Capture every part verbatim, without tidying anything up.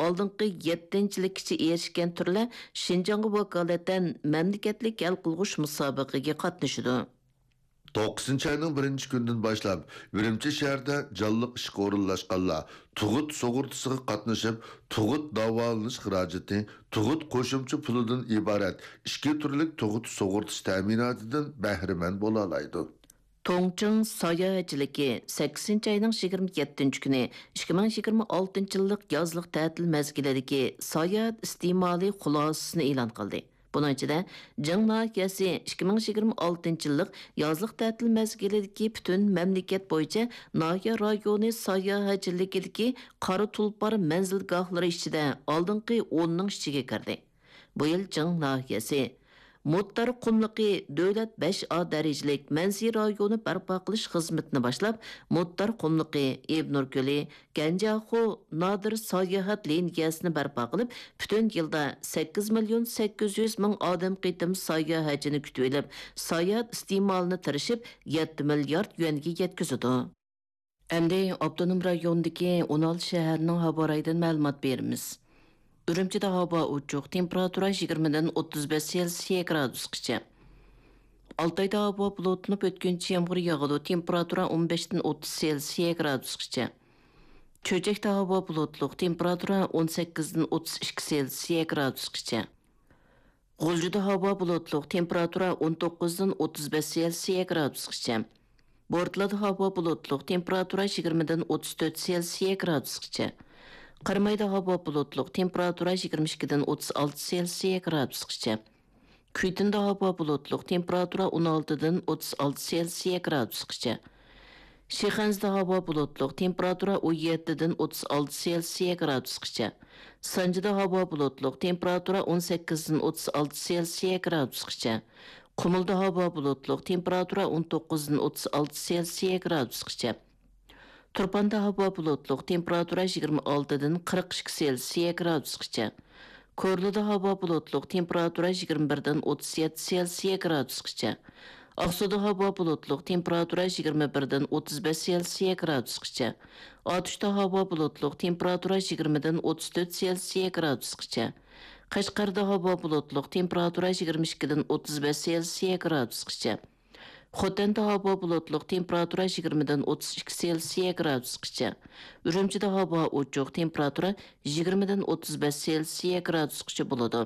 ئالدىنقى يەتتىنچىلىككىچە ئېرىشكەن تۈرلەر شىنجاڭغا ۋاكالىتەن مەملىكەتلىك ھەل قىلغۇچ مۇسابىقىگە قاتنىشىدۇ. توققۇزىنچى ئاينىڭ بىرىنچى كۈنىدىن باشلاپ، ئۈرۈمچى شەھىرىدە جانلىق ئىشقا ئورۇنلاشقانلار تۇغۇت سۇغۇرتىسىغا قاتنىشىپ، تۇغۇت داۋالىنىش خىراجىتى، تۇغۇت قوشۇمچە پۇلىدىن ئىبارەت ئىككى تۈرلۈك تۇغۇت سۇغۇرتىسى تەمىناتىدىن بەھرىمەن بولالايدۇ. توڭچىڭ ساياھەتچىلىكى سەككىزىنچى ئاينىڭ يىگىرمە يەتتىنچى كۈنى ئىككى مىڭ يىگىرمە ئالتىنچى يىللىق يازلىق تەتىل مەزگىلىدىكى ساياھەت ئىستېمالى خۇلاسىسىنى ئېلان قىلدى. بۇنىڭ ئىچىدە، جىڭ ناھىيەسى ئىككى مىڭ يىگىرمە ئالتىنچى يىللىق يازلىق تەتىل مەزگىلىدىكى پۈتۈن مەملىكەت بويىچە ناھىيە رايونى ساياھەتچىلىكىدىكى قارا تۇلپار مەنزىلگاھلىرى ئىچىدە ئالدىنقى ئوننىڭ ئىچىگە كىردى. بۇ يىل جىڭ ناھىيەسى مۇتتار قۇملۇقى دۆلەت بەش ئا دەرىجىلىك مەنزىرە رايونى بەرپا قىلىش خىزمىتىنى باشلاپ، مۇتتار قۇملۇقى، ئىبنۇر كۆلى، گەنجياخۇ نادىر ساياھەت لىنىيەسىنى بەرپا قىلىپ، پۈتۈن يىلدا سەككىز مىليون سەككىز يۈز مىڭ ئادەم قېتىم ساياھەتچىنى كۈتۈۋېلىپ، ساياھەت ئىستېمالىنى تىرىشىپ، يەتتە مىليارد يۈەنگە يەتكۈزىدۇ. ئەمدى ئاپتونوم رايوندىكى ئون ئالتە شەھەرنىڭ ھاۋا رايىدىن مەلۇمات بېرىمىز. ئۈرۈمچىدە ھاۋا ئوچۇق، تېمپېراتۇرا يىگىرمىدىن ئوتتۇز بەش سېلسىيە گرادۇسقىچە. ئالتايدا ھاۋا بۇلۇتلىنىپ، ئۆتكۈنچى يامغۇر ياغىدۇ، تېمپېراتۇرا ئون بەشتىن ئوتتۇز سېلسىيە گرادۇسقىچە. چۆچەكتە ھاۋا بۇلۇتلۇق، تېمپېراتۇرا ئون سەككىزدىن ئوتتۇز ئىككى سېلسىيە گرادۇسقىچە. غۇلجىدا ھاۋا بۇلۇتلۇق، تېمپېراتۇرا ئون توققۇزدىن ئوتتۇز بەش سېلسىيە گرادۇسقىچە. بورتالادا ھاۋا بۇلۇتلۇق، تېمپېراتۇرا يىگىرمىدىن ئوتتۇز تۆت سېلسىيە گرادۇسقىچە. قىرمايدا ھاۋا بۇلۇتلۇق، تېمپېراتۇرا يىگىرمە ئىككىدىن ئوتتۇز ئالتە سېلسىيە گرادۇسقىچە. كۈيتۇندا ھاۋا بۇلۇتلۇق، تېمپېراتۇرا ئون ئالتىدىن ئوتتۇز ئالتە سېلسىيە گرادۇسقىچە. شىخەنزىدە ھاۋا بۇلۇتلۇق، تېمپېراتۇرا ئون يەتتىدىن ئوتتۇز ئالتە سېلسىيە گرادۇسقىچە. سانجىدا ھاۋا بۇلۇتلۇق، تېمپېراتۇرا ئون سەككىزدىن ئوتتۇز ئالتە سېلسىيە گرادۇسقىچە. قۇمۇلدا ھاۋا بۇلۇتلۇق، تېمپېراتۇرا ئون توققۇزدىن ئوتتۇز ئالتە سېلسىيە گرادۇسقىچە. تۇرپاندا ھاۋا بۇلۇتلۇق، تېمپېراتۇرا يىگىرمە ئالتىدىن قىرىق ئىككى سېلسىيە گرادۇسقىچە. كورلىدا ھاۋا بۇلۇتلۇق، تېمپېراتۇرا يىگىرمە بىردىن ئوتتۇز يەتتە سېلسىيە گرادۇسقىچە. ئاقسۇدا ھاۋا بۇلۇتلۇق، تېمپېراتۇرا يىگىرمە بىردىن ئوتتۇز بەش سېلسىيە گرادۇسقىچە. ئاتۇشتا ھاۋا بۇلۇتلۇق، تېمپېراتۇرا يىگىرمىدىن ئوتتۇز تۆت سېلسىيە گرادۇسقىچە. قەشقەردە ھاۋا بۇلۇتلۇق، تېمپېراتۇرا يىگىرمە ئىككىدىن ئوتتۇز بەش سېلسىيە گرادۇسقىچە. خوتەندە ھاۋا بۇلۇتلۇق، تېمپېراتۇرا يىگىرمىدىن ئوتتۇز ئىككى سېلسىيە گرادۇسقىچە. ئۈرۈمچىدە ھاۋا ئوچۇق، تېمپېراتۇرا يىگىرمىدىن ئوتتۇز بەش سېلسىيە گرادۇسقىچە بولىدۇ.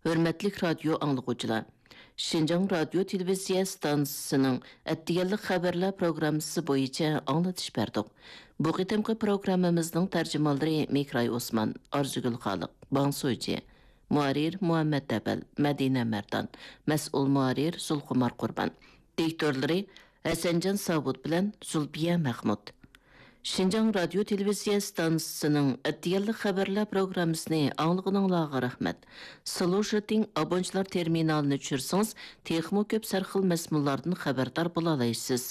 ھۆرمەتلىك رادىيو ئاڭلىغۇچىلار! شىنجاڭ رادىيو تېلېۋىزىيە ئىستانسىسىنىڭ ئەتىگەنلىك خەۋەرلەر پروگراممىسى بويىچە ئاڭلىتىش بەردۇق. بۇ قېتىمقى پروگراممىمىزنىڭ تەرجىمانلىرى مېھراي ئوسمان، ئارزۇگۈل خالىق، باڭسۇجى. مۇھەررىر مۇھەممەت ئەپەل، مەدىنە مەردان. مەسئۇل مۇھەررىر زۇلخۇمار قۇربان. دىكتورلىرى ھەسەنجان ساۋۇت بىلەن زۇلپىيە مەخمۇت. شىنجاڭ رادىيو تېلېۋىزىيە ئىستانسىسىنىڭ ئەتىگەنلىك خەۋەرلەر پروگراممىسىنى ئاڭلىغىنىڭلارغا رەھمەت. سلۇشىتىڭ ئابونچىلار تېرمىنالىنى چۈشۈرسىڭىز، تېخىمۇ كۆپ سەرخىل مەزمۇنلاردىن خەۋەردار بولالايسىز.